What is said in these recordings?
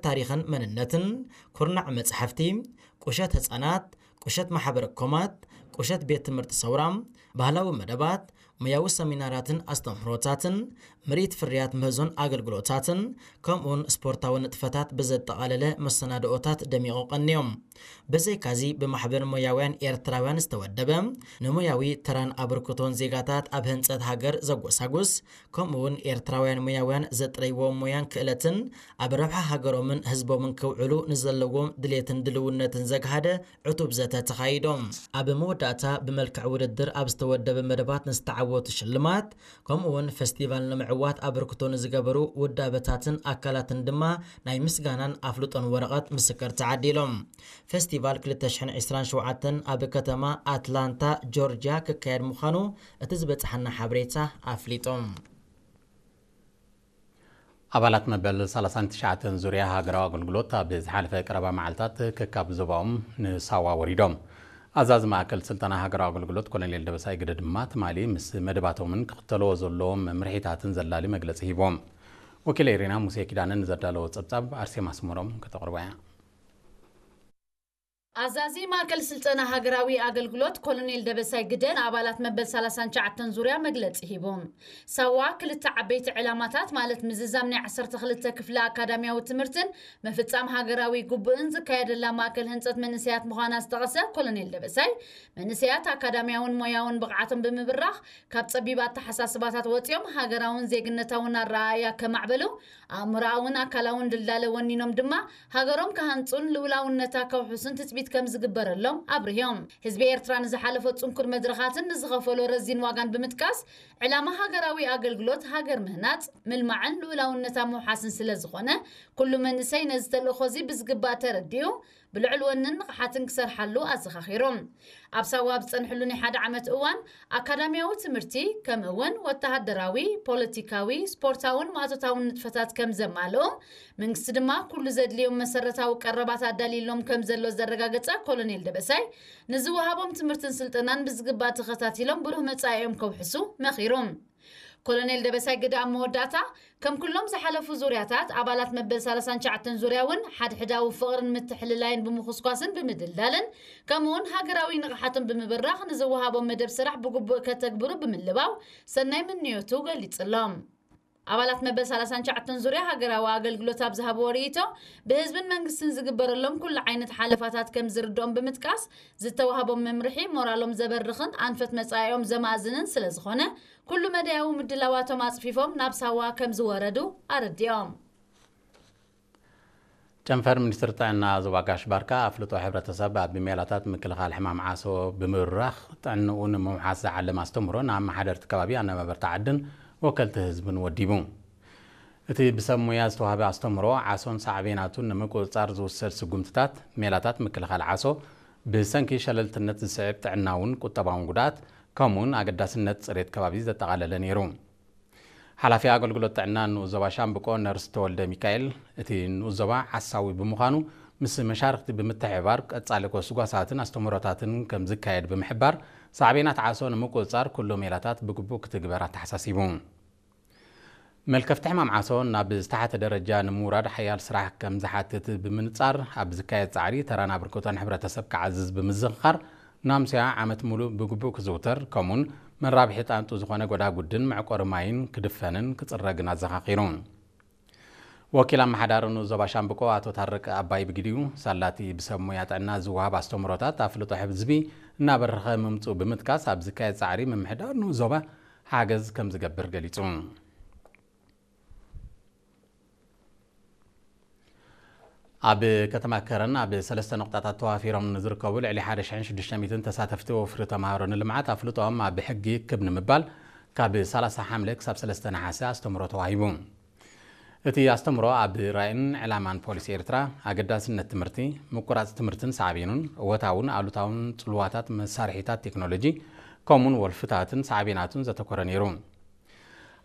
ታሪኽን መንነትን፣ ኩርናዕ መጻሕፍቲ፣ ቁሸት ህጻናት፣ ቁሸት ማሕበረ ኮማት፣ ቁሸት ቤት ትምህርቲ ሰውራ፣ ባህላዊ መደባት፣ ሞያዊ ሰሚናራትን ኣስተምህሮታትን፣ ምርኢት ፍርያት ምህዞን ኣገልግሎታትን፣ ከምኡውን ስፖርታዊ ንጥፈታት ብዘጠቓለለ መሰናድኦታት ደሚቑ ቀንዮም። ብዘይካዚ ብማሕበር ሞያውያን ኤርትራውያን ዝተወደበ፣ ንሞያዊ ተራን ኣበርክቶን ዜጋታት ኣብ ህንጸት ሃገር ዘጎሳጉስ፣ ከምኡውን ኤርትራውያን ሞያውያን ዘጥረይዎ ሞያን ክእለትን ኣብ ረብሓ ሃገሮምን ህዝቦምን ክውዕሉ ንዘለዎም ድሌትን ድልውነትን ዘግሃደ ዕቱብ ዘተ ተኻይዶም። ኣብ መወዳእታ ብመልክዕ ውድድር ኣብ ዝተወደበ መደባት ንዝተዓወቱ ሽልማት፣ ከምኡውን ፈስቲቫል ንምዕዋት ኣበርክቶ ንዝገበሩ ውዳበታትን ኣካላትን ድማ ናይ ምስጋናን ኣፍልጦን ወረቐት ምስክር ተዓዲሎም። ፈስቲቫል ክልተ ሽሕን ዕስራን ሸውዓተን ኣብ ከተማ ኣትላንታ ጆርጅያ ክካየድ ምዃኑ እቲ ዝበጽሓና ሓበሬታ ኣፍሊጦም። ኣባላት መበል ሰላሳን ትሽዓተን ዙርያ ሃገራዊ ኣገልግሎት ኣብ ዝሓለፈ ቀረባ መዓልታት ከካብ ዞባኦም ንሳዋ ወሪዶም። ኣዛዚ ማእከል ስልጠና ሃገራዊ ኣገልግሎት ኮሎኔል ደበሳይ ግደ ድማ ትማሊ ምስ መደባቶምን ክኽተልዎ ዘለዎም መምርሒታትን ዘላሊ መግለጺ ሂቦም። ወኪል ኤሪና ሙሴ ኪዳነ ንዘዳለዎ ጸብጻብ ኣርሴማ ኣስመሮም ከተቕርቦ እያ። ኣዛዚ ማእከል ስልጠና ሃገራዊ ኣገልግሎት ኮሎኔል ደበሳይ ግደ ንኣባላት መበል ሰላሳን ትሽዓተን ዙርያ መግለጺ ሂቦም። ሳዋ ክልተ ዓበይቲ ዕላማታት ማለት ምዝዛም ናይ ዓሰርተ ክልተ ክፍለ ኣካዳሚያዊ ትምህርትን ምፍጻም ሃገራዊ ግቡእን ዝካየደላ ማእከል ህንጸት መንእሰያት ምዃና ዝጠቐሰ ኮሎኔል ደበሳይ፣ መንእሰያት ኣካዳሚያውን ሞያውን ብቕዓቶም ብምብራኽ ካብ ጸቢብ ኣተሓሳስባታት ወጺኦም ሃገራውን ዜግነታውን ኣረኣእያ ከማዕበሉ፣ ኣእምሮኣውን ኣካላውን ድልዳለ ወኒኖም ድማ ሃገሮም ክሃንጹን ልኡላውነታ ከውሕሱን ትጽቢት ከም ዝግበረሎም ኣብርሆም። ህዝቢ ኤርትራ ንዝሓለፎ ጽንኩር መድረኻትን ንዝኸፈሎ ረዚን ዋጋን ብምጥቃስ፣ ዕላማ ሃገራዊ ኣገልግሎት ሃገር ምህናጽ፣ ምልማዕን ልኡላውነታ ምውሓስን ስለ ዝኾነ፣ ኩሉ መንእሰይ ነዚ ተልእኾ እዚ ብዝግባእ ተረዲኡ፣ ብልዑል ወንን ንቕሓትን ክሰርሓሉ ኣዘኻኺሮም። ኣብ ሳዋ ኣብ ዝጸንሕሉ ናይ ሓደ ዓመት እዋን፣ ኣካዳሚያዊ ትምህርቲ፣ ከምኡ እውን ወተሃደራዊ፣ ፖለቲካዊ፣ ስፖርታውን ማእቶታውን ንጥፈታት ከም ዘማልኡ፣ መንግስቲ ድማ ኩሉ ዘድልዮም መሰረታዊ ቀረባት ኣዳልዩሎም ከም ዘሎ ዘረጋገጸ ኮሎኔል ደበሳይ፣ ንዝወሃቦም ትምህርትን ስልጠናን ብዝግባእ ተኸታቲሎም ብሩህ መጻኢኦም ከውሕሱ መኺሮም። ኮሎኔል ደበሳይ ግደ ኣብ መወዳእታ፣ ከም ኩሎም ዝሓለፉ ዙርያታት፣ ኣባላት መበል ሰላሳን ትሽዓተን ዙርያ እውን ሓድሕዳዊ ፍቕርን ምትሕልላይን ብምኹስኳስን ብምድልዳልን፣ ከምኡውን ሃገራዊ ንቕሓቶም ብምብራኽ ንዝወሃቦም መደብ ስራሕ ብግቡእ ከተግብሩ ብምልባው ሰናይ ምንዮቱ ገሊጹሎም። ኣባላት መበል ሰላሳን ትሽዓተን ዙርያ ሃገራዊ ኣገልግሎት ኣብ ዝሃብዎ ርእይቶ፣ ብህዝብን መንግስትን ዝግበረሎም ኩሉ ዓይነት ሓለፋታት ከም ዝርድኦም ብምጥቃስ፣ ዝተዋህቦም መምርሒ ሞራሎም ዘበርኽን ኣንፈት መጻኢኦም ዘማእዝንን ስለ ዝኾነ፣ ኩሉ መዳያዊ ምድላዋቶም ኣጽፊፎም ናብ ሳዋ ከም ዝወረዱ ኣረዲኦም። ጨንፈር ሚኒስትሪ ጥዕና ዞባ ጋሽ ባርካ ኣፍልጦ ሕብረተሰብ ኣብ ሜላታት ምክልኻል ሕማም ዓሶ ብምብራኽ ጥዕንኡ ንምውሓስ ዝዓለመ ኣስተምህሮ ንኣመሓደርቲ ከባቢ ኣነባበርቲ ዓድን ወከልቲ ህዝብን ወዲቡ። እቲ ብሰብ ሞያ ዝተዋህበ ኣስተምህሮ ዓሶን ሳዕቤናቱን ንምቁጽጻር ዝውሰድ ስጉምትታት፣ ሜላታት ምክልኻል ዓሶ፣ ብሰንኪ ሸለልትነት ዝስዕብ ጥዕናውን ቁጠባውን ጉድኣት፣ ከምኡውን ኣገዳስነት ጽሬት ከባቢ ዘጠቓለለ ነይሩ። ሓላፊ ኣገልግሎት ጥዕና ንኡስ ዞባ ሻምብቆ ነርስ ተወልደ ሚካኤል፣ እቲ ንኡስ ዞባ ዓሳዊ ብምዃኑ፣ ምስ መሻርክቲ ብምትሕብባር ቀጻሊ ጎስጓሳትን ኣስተምህሮታትን ከም ዝካየድ ብምሕባር፣ ሳዕቤናት ዓሶ ንምቁጽጻር ኩሉ ሜላታት ብግቡእ ክትግበር ኣተሓሳሲቡ። መልከፍቲ ሕማም ዓሶ ናብ ዝተሓተ ደረጃ ንምውራድ ሓያል ስራሕ ከም ዝሓትት ብምንጻር፣ ኣብ ዝካየድ ጻዕሪ ተራን ኣበርክቶን ሕብረተሰብ ክዓዝዝ ብምዝኽኻር፣ ናምስያ ዓመት ሙሉእ ብግቡእ ክዝውተር፣ ከምኡን መራብሒ ጣንጡ ዝኾነ ጎዳጉድን መዕቆሪ ማይን ክድፈንን ክጽረግን ኣዘኻኺሩ። ወኪል ኣመሓዳሪ ንኡስ ዞባ ሻምብቆ ኣቶ ታረቀ ኣባይ ብግዲኡ፣ ሳላቲ ብሰብ ሞያ ጥዕና ዝወሃብ ኣስተምህሮታት ኣፍልጦ ህዝቢ እናበረኸ ምምጽኡ ብምጥቃስ፣ ኣብ ዝካየድ ጻዕሪ ምምሕዳር ንኡስ ዞባ ሓገዝ ከም ዝገብር ገሊጹ። ኣብ ከተማ ከረን ኣብ ሰለስተ ነቑጣታት ተዋፊሮም ንዝርከቡ ልዕሊ ሓደ ሽሕን ሽዱሽተ ሚእትን ተሳተፍቲ ወፍሪ ተምሃሮ ንልምዓት ኣፍልጦኦም ኣብ ሕጊ ክብ ንምባል ካብ ሰላሳ ሓምለ ክሳብ ሰለስተ ነሓሰ ኣስተምህሮ ተዋሂቡ። እቲ ኣስተምህሮ ኣብ ራእይን ዕላማን ፖሊሲ ኤርትራ፣ ኣገዳስነት ትምህርቲ፣ ምቁራጽ ትምህርትን ሳዕቤኑን፣ እወታውን ኣሉታውን ጽልዋታት መሳርሒታት ቴክኖሎጂ፣ ከምኡን ወልፍታትን ሳዕቤናቱን ዘተኮረ ነይሩ።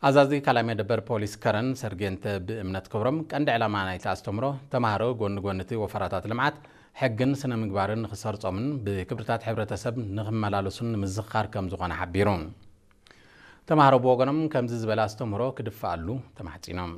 ኣዛዚ ካልኣይ መደበር ፖሊስ ከረን ሰርጌንተ ብእምነት ክብሮም፣ ቀንዲ ዕላማ ናይቲ ኣስተምህሮ፣ ተማሃሮ ጎኒ ጎኒ እቲ ወፈራታት ልምዓት፣ ሕግን ስነ ምግባርን ንኽሰርጾምን ብክብርታት ሕብረተሰብ ንኽመላለሱን ንምዝኽኻር ከም ዝኾነ ሓቢሩ። ተማሃሮ ብወገኖም ከምዚ ዝበለ ኣስተምህሮ ክድፍኣሉ ተማሕጺኖም።